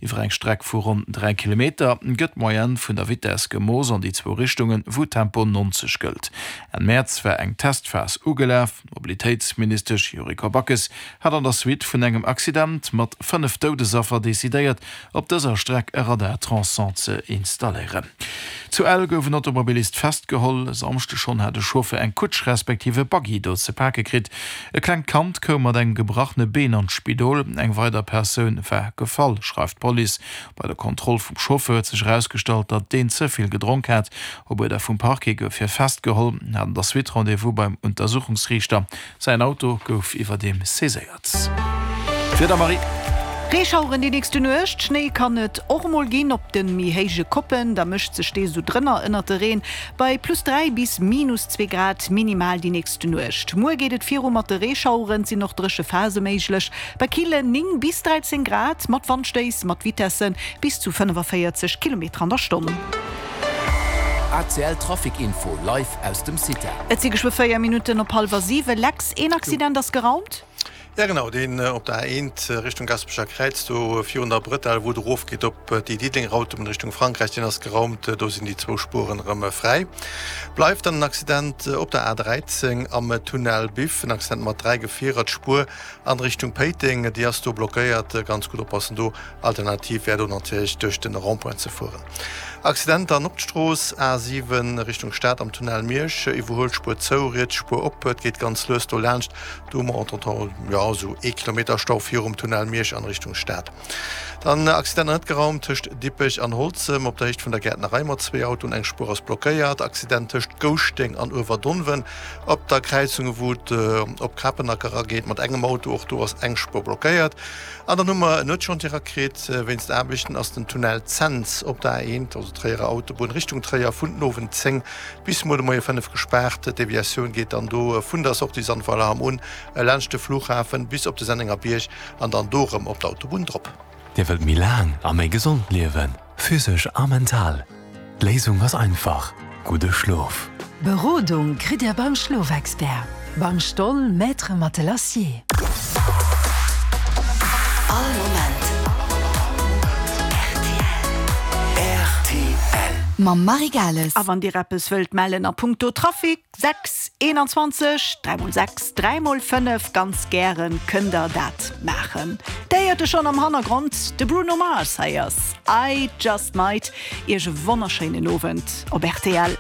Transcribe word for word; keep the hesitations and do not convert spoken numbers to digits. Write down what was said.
Iwwer eng Streck vu ronn dräi Kilometer gëtt d'Moyenne vun der Vitess gemooss an déi zwou Richtungen, wou Tempo neunzeg gëllt. Enn Mäerz war eng Testphas ugelaf. D'Mobilitéitsministesch Yuriko Backes hat an der Suite vun engem Accident mat fënnef Doudesaffer decidéiert, op dëser Streck e Radar Transon ze installéieren. Zu Ell gouf en Automobilist festgeholl. E Samschde schonn hat e Chauffer eng Kutsch respektiv e Buggy do ze pake kritt. E klengt Kand koum mat engem gebrachene Been an d'Spidol. Eng weider Persoun war gefall, schreift d'Police. Bei der Kontroll vum Chauffeur huet sech erausgestallt, datt deen ze vill gedronk hat. Op Uerder vum Parquet gouf hie festgeholl, hat an der Suite Rendez-vous beim Untersuchungsriichter. Säin Auto gouf iwwerdeem saiséiert. D'Wieder, Marie. Reeschaueren déi nächste Nuecht, Schnéi kann et och emol ginn op de méi héije Koppen, da mëscht sech dee sou drënner ënnert de Reen bei plus dräi bis minus zwee Grad minimal déi nächste Nuecht. Muer geet et viru mat de Reeschaueren, et sinn och dréche Phase méiglech bei killen néng bis dräizéng Grad mat Wandstéiss mat Vitesse bis zu fënnefavéierzeg Kilometer an der Stonn. A C L Trafic Info live aus dem CITA. Et si geschwë véier Minutten op hallwer siwe. Lex, een Accident ass geraumt. Ja genau, deen op der A eent Richtung Gaspecher Kräiz, do virun der Bretelle, wou et erofgeet op déi Diddelenger Autobunn Richtung Frankräich, deen ass geraumt, do sinn déi zwou Spueren erëm fräi. Bleift dann en Accident op der A dräizéng am Tunnel Biff, en Accident mat dräi Gefierer, d'Spuer an Richtung Péiteng, déi ass do blockéiert, ganz gutt oppassen do, alternativ wär do natierlech duerch den Rond-point ze fueren. Accident dann op d'Strooss A siwen Richtung Stad am Tunnel Miersch, Iwwerhuelspuer zou, riets Spuer op, et geet ganz lues do laanscht. Do hu mer entretemps, jo, esou ee Kilometer Stau virum Tunnel Miersch an Richtung Stad. Dann Accident net geraumt tëscht Dippech an Holzem op der Héicht vun der Gäertnerei mat zwee Autoen, eng Spuer ass blockéiert. Accident tëscht Gouschteng an Uewerdonwen op der Kräizung wou et op Kapenack erageet mat engem Auto, och do ass eng Spuer blockéiert. An dann hu mer en Nuetschantier erakritt. Wéinst Aarbechten ass den Tunnel Cents op der A eent, also Tréierer Autobunn Richtung Tréier, vun den Owend zéng bis muer de Moie fënnef gespaart. D'Deviatioun geet dann do vun der Sortie Sandweiler-Hamm un, laanscht de Flughafen bis op de Sennengerbierg an dann do erëm op d'Autobunn drop. Dir wëllt méi laang a méi gesond liewen, physesch a mental? D'Léisung ass einfach, gudde Schlof! Berodung kritt Dir beim Schlofexpert, beim Stoll Maître Matelassier. All Moment rtl. Mam Marie Gales. A wann Dir eppes wëllt mellen a punkto Trafic, sechs eenanzwanzeg dräi mol sechs dräi mol fënnef, ganz gären kënnt Der dat maachen. Dir héiert e schonn am Hannergrond, de Bruno Mars. Hei ass I Just Might. Iech e wonnerschéinen Owend op rtl.